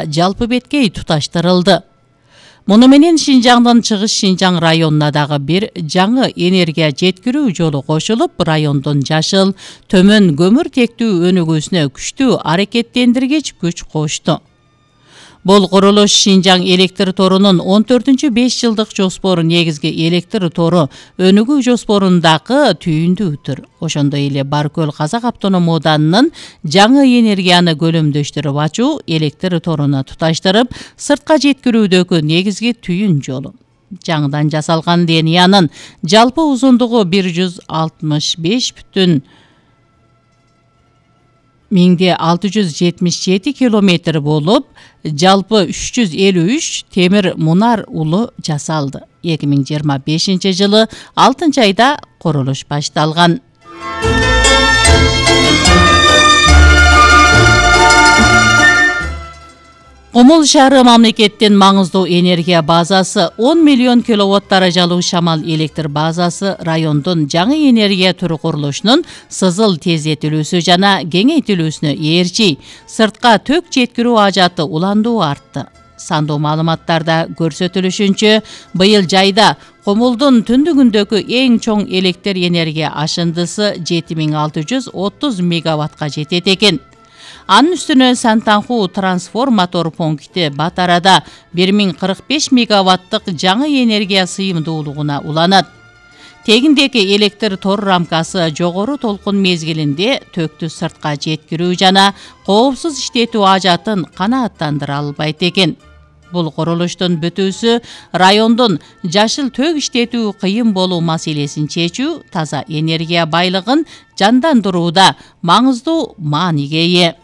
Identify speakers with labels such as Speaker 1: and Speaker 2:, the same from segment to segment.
Speaker 1: жалпы беткей туташтырылды. Муну менен Шинжаңдын Чыгыш Шинжаң районуна дагы бир жаңы энергия жеткирүү жолу кошулуп, райондун жашыл, төмөн көмүртектүү өнүгүүсүнө күчтүү аракеттендиргич күч кошту. Бул курулуш Шинжаң электр торунун 14-5 жылдык жоспору негизги электр тору өнүгүү жоспорундагы түйүндүүтүр. Ошондой эле Баркөл Казак автоном ооданынын жаңы энергияны көлөмдөштүрүп ачуу, электр торуна туташтырып, сыртка жеткирүүдөгү негизги түйүн жолу. Жаңыдан жасалган линиянын жалпы узундугу 165,677 километр болуп, жалпы 353 темир мунар улу жасалды. 2025 жылы 6 айда курулуш башталган. Кумул шаары мамлекеттин маңыздуу энергия базасы, 10 миллион киловатт даражалуу шамал электр базасы райондун жаңы энергия түрү курулушунун сызыл тездетилүүсү жана кеңейтилүүсүнө ээрчи, сыртка төк жеткирүү ажаты уландуу артты. Сандуу маалыматтарда көрсөтүлүшүнчө, быйыл жайда Кумулдун түндүгүндөгү эң чоң электр энергия ашындысы 7630 мегаваттка жетет экен. Анын үстүнө Сантанху трансформатор пункти Батарада 1045 мегаваттык жаңы энергия сыйымдуулугуна уланат. Тегиндеги электр тор рамкасы жогору толкун мезгилинде төктү сыртка жеткирүү жана коопсуз иштетүү ажатын канааттандыра албайт экен. Бул курулуштун бүтүүсү райондун жашыл тök иштетүү кыйын болуу маселесин чечүү, таза энергия байлыгын жандандырууда маңыздуу мааниге ээ.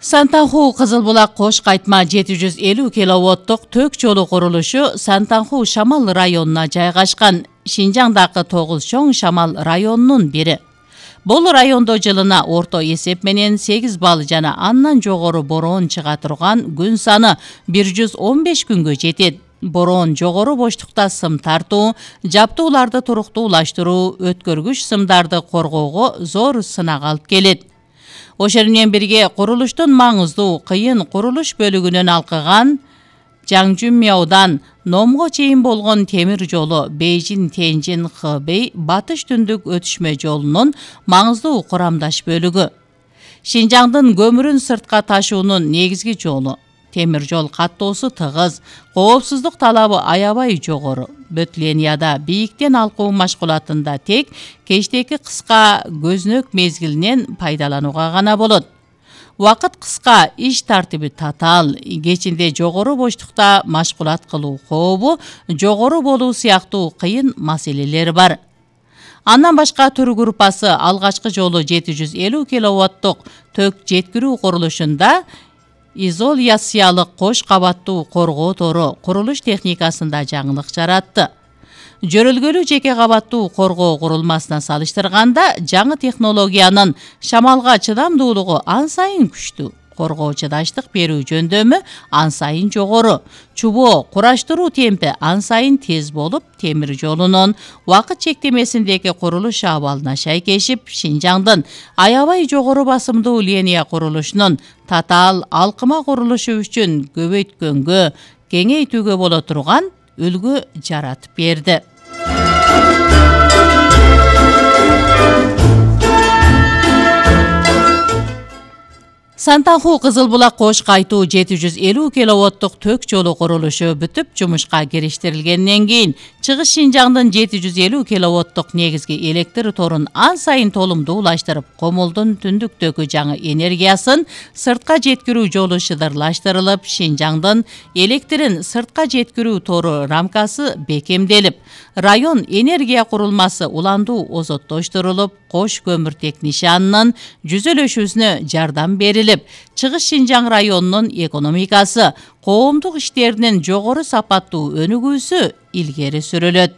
Speaker 1: Сантанху Кызылбулак Кош кайтма 750 киловаттык тök жолу курулушу Сантанху Шамал районуна жайгашкан. Шинжаңдагы 9 чоң Шамал районунун бири. Бул райондо жылына орто эсеп менен 8 балл жана андан жогору бороон чыга турган күн саны 115 күнгө жетет. Бороон жогору боштукта сым тартуу, жаптууларды туруктуулаштыруу, өткөргүч сымдарды коргоого зор сынак алып келет. Ошол менен бирге курулуштун маңыздуу кыйын курулуш бөлүгүнөн алкыган Жаңжүмяудан Номго чейин болгон темир жолу Бейжин-Тенжин-Хэбэй батыш түндүк өтүшмө жолунун маңыздуу курамдаш бөлүгү. Шинжаңдын көмүрүн сыртка ташуунун негизги жолу. Темир жол каттоосу тыгыз, коопсуздук талабы аябай жогору. Бөтленияда бийиктен алкуу машкулатында тек кечтеки кыска көзнөк мезгилинен пайдаланууга гана болот. Убакыт кыска, иш тартиби татаал, кечинде жогору боштукта машкулат кылуу кообу жогору болуу сыяктуу кыйын маселелер бар. Андан башка түр группасы алгачкы жолу 750 киловаттык тök жеткирүү курулушунда изоляциялык кош кабаттуу коргоо тору курулуш техникасында жаңылык жаратты. Жөрөлгөлүү жеке кабаттуу коргоо курулмасына салыштырганда жаңы технологиянын шамалга чыдамдуулугу ан сайын күчтүү. Коргоо чыдаштык берүү жөндөмү ан сайын жогору. Чубоо кураштыруу темпи ан сайын тез болуп, темир жолунун убакыт чектемесиндеги курулуш абалына шайкешип, Шинжаңдын аябай жогору басымдуу линия курулушунун татаал алкыма курулушу үчүн көбөйткөнгө, кеңейтүүгө боло турган үлгү жаратып берди. Сантанху Кызылбулак Кош кайтуу 750 киловаттык тök жолу курулушу бүтүп, жумушка кириштирилгенден кийин Чыгыш Шинжаңдын 750 киловаттык негизги электр торун ан сайын толумдуулаштырып, Комулдун түндүктөгү жаңы энергиясын сыртка жеткирүү жолу шыдырлаштырылып, Шинжаңдын электрин сыртка жеткирүү тору рамкасы бекемделип, район энергия курулмасы уландуу озоттоштурулуп, Кош көмүртек нишанынын жүзөлөшүүсүнө жардам берилип, Чыгыш Шинжаң районунун экономикасы, коомдук иштеринин жогору сапаттуу өнүгүүсү илгери сүрүлөт.